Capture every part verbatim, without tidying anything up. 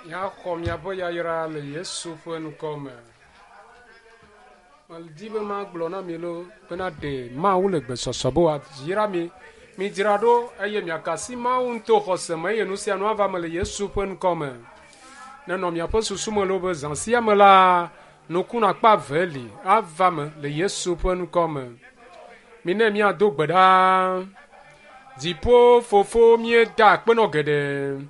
Míaxɔ miaƒe yayra le Yesu ƒe ŋkɔ me. Medi be magblɔ na mi lo bena ɖe Mawu le gbesɔsɔ be wòayra mi. Midzra ɖo eye miaka asi Mawu ŋutɔ xɔse me eye nu sia nu ava me le Yesu ƒe ŋkɔ me. Nenɔ miaƒe susu me lo be zã sia me la, nukunu akpa eve li ava me le Yesu ƒe ŋkɔ me. Mine míado gbe ɖa. Dziƒo fofo míeda akpe nɔ geɖe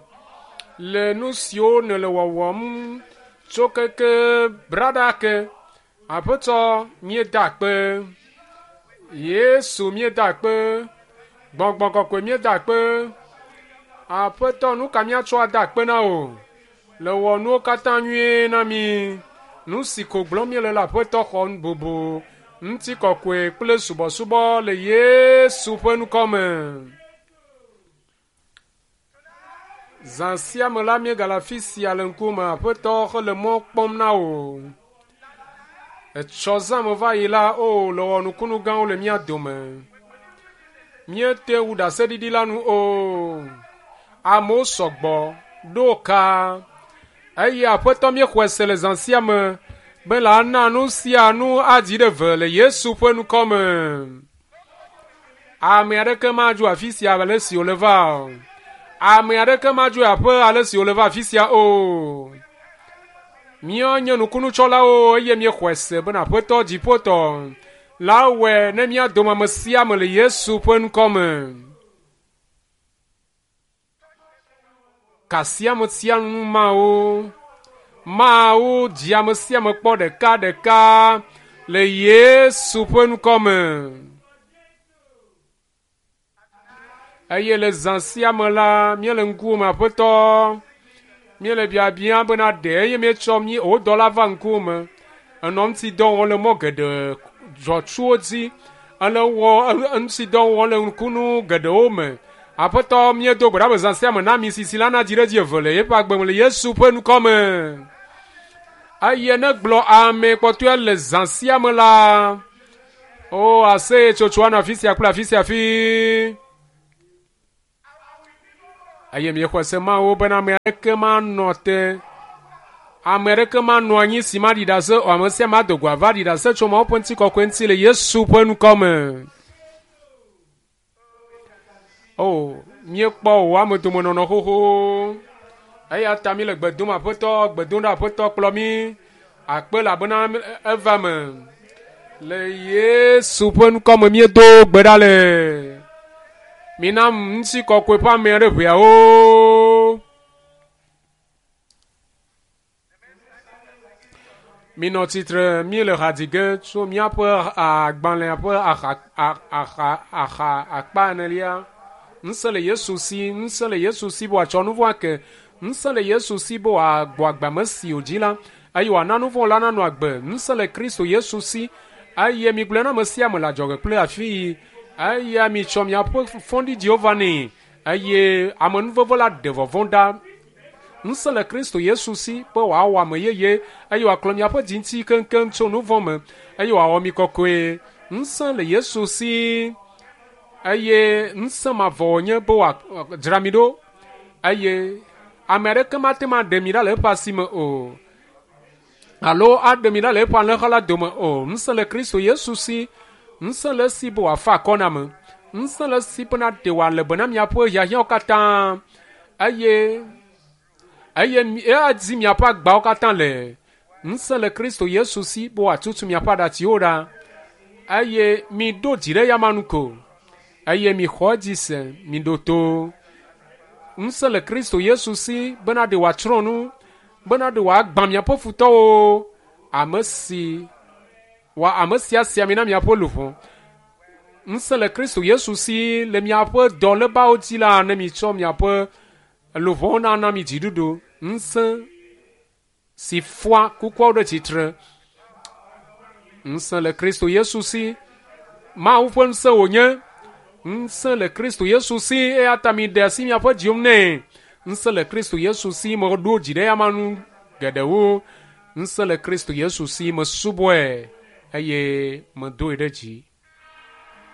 le nu siwo nèle wɔwɔm tso keke brada ke. Aƒetɔ míeda akpe. Yesu míeda akpe. Gbɔgbɔ kɔkɔe míeda akpe. Aƒetɔ nu ka míatsɔ ada akpe na wò? Le wɔ nuwo katã nyuie na mi. Nu si ko gblɔm míele le aƒetɔ xɔ bubu, ŋutikɔkɔe kple subɔsubɔ le Yesu ƒe ŋkɔ me. Zã sia me la míegale afi sia le ŋkume aƒetɔ hele mɔ kpɔm na wò. Etsɔ zã me va yi la, o le wɔ nukunu gãwo le mía dome. Míete wu ɖaseɖiɖi la nu o. Amewo sɔgbɔ ɖo ka eye aƒetɔ míexɔe se le zã sia me be la na nu sia nu adzi ɖe ve le Yesu ƒe ŋkɔ me. Ame aɖeke madzo afi sia ale si wòle va o. Ame aɖeke madzo aƒe ale si wòle va afi sia o. Míenye nukunutsɔlawo eye míexɔe se bena aƒetɔ dziƒotɔ la wɔe ne mía dome ame sia ame le Yesu ƒe ŋkɔ me. Kasi ame sia nu Mawu. Mawu dzi ame sia ame kpɔ ɖeka ɖeka le Yesu ƒe ŋkɔ me. Eye le zã sia me la, míele ŋkuwò me aƒetɔ. Míele biabia bena ɖe eye míetsɔ mí wò dɔla va ŋkuwò me. Enɔ ŋuti dɔ wɔm le mɔ geɖe dzɔtsuwo dzi. Ele wɔ ŋuti dɔ wɔm le nukunu geɖewo me. Aƒetɔ míedo gbe ɖa be zã sia me na mi sisi la nadzi ɖe edzi eve le yeƒe agbe me le Yesu ƒe ŋkɔ me. Eye ne gblɔ ame kpɔtɔe le zã sia me la, o aseyetsotso anɔ afi sia kple afi sia fi. Eye míexɔe se Mawu bena ame aɖeke manɔ te, ame aɖeke manɔ anyi si maɖi ɖase o, ame sia ame ado go ava ɖi ɖase tso Mawu ƒe ŋutikɔkɔe ŋuti le Yesu ƒe ŋkɔ me. O, míekpɔ wò ame domenɔnɔ xoxo. Eya ta míele gbe dom aƒetɔ, gbe dom ɖe aƒetɔ kplɔ mí. Akpe elabena eva me. Le Yesu ƒe ŋkɔ me míedo gbe ɖa le. Mina ŋutikɔkɔe ƒe ame aɖe ʋeawo. Minɔ tsitre míele ha dzi ge tso míaƒe agbalẽa ƒe axa axa axa akpa enelia. Ŋusẽ le Yesu si, ŋusẽ le Yesu si be wòatsɔ nu vɔ̃ ake. Ŋusẽ le Yesu si be wòagbɔ agbe ame si wòdzi la eye wòana nu vɔ̃ la nanɔ agbe. Ŋusẽ le Kristo Yesu si eye migblɔe na ame sia ame le adzɔge kple afi yi eye mitsɔ miaƒe fɔɖiɖiwo va nɛ eye amenuveve la ɖe vɔvɔ̃ ɖa. Ŋusẽ le Kristo Yesu si be wòawɔ ame yeye eye wòaklɔ miaƒe dzi ŋuti keŋkeŋ tso nu vɔ̃ me eye wòawɔ mi kɔkɔe. Ŋusẽ le Yesu si eye ŋusẽ mavɔ wònye be wòadzra mi ɖo eye ame aɖeke mate ŋu aɖe mi ɖa le eƒe asi me o alo aɖe mi ɖa le eƒe alẽha la dome o. Ŋusẽ le Kristo Yesu si, ŋusẽ le esi be wòafa akɔ na ame, ŋusẽ le esi bena ɖe wòale be na miaƒe hiahiãwo katã eye eye adi miaƒe agbawo katã le. Ŋusẽ le Kristo Yesu si be wòatutu miaƒe aɖatsiwo ɖa eye miɖo dzi ɖe eyama nu ko eye mixɔ edzi se, miɖo to. Ŋusẽ le Kristo Yesu si bena ɖe wòatsrɔ̃ nu, bena ɖe wòagbã miaƒe futɔwo, ame si wa ame sia sia mi na miaƒe luʋɔ. Ŋusẽ le Kristo Yesu si le miaƒe dɔlébawo dzi la ne mitsɔ miaƒe luʋɔwo nana mi dziɖuɖu. Ŋusẽ si fɔa kukuawo ɖe tsitre. Ŋusẽ le Kristo Yesu si. Mawu ƒe ŋusẽ wònye. Ŋusẽ le Kristo Yesu si eya ta miɖe asi miaƒe dziwo nɛ. Ŋusẽ le Kristo Yesu si meɖo dzi ɖe eyama nu geɖewo. Ŋusẽ le Kristo Yesu si mesubɔe eye medoe ɖe dzi.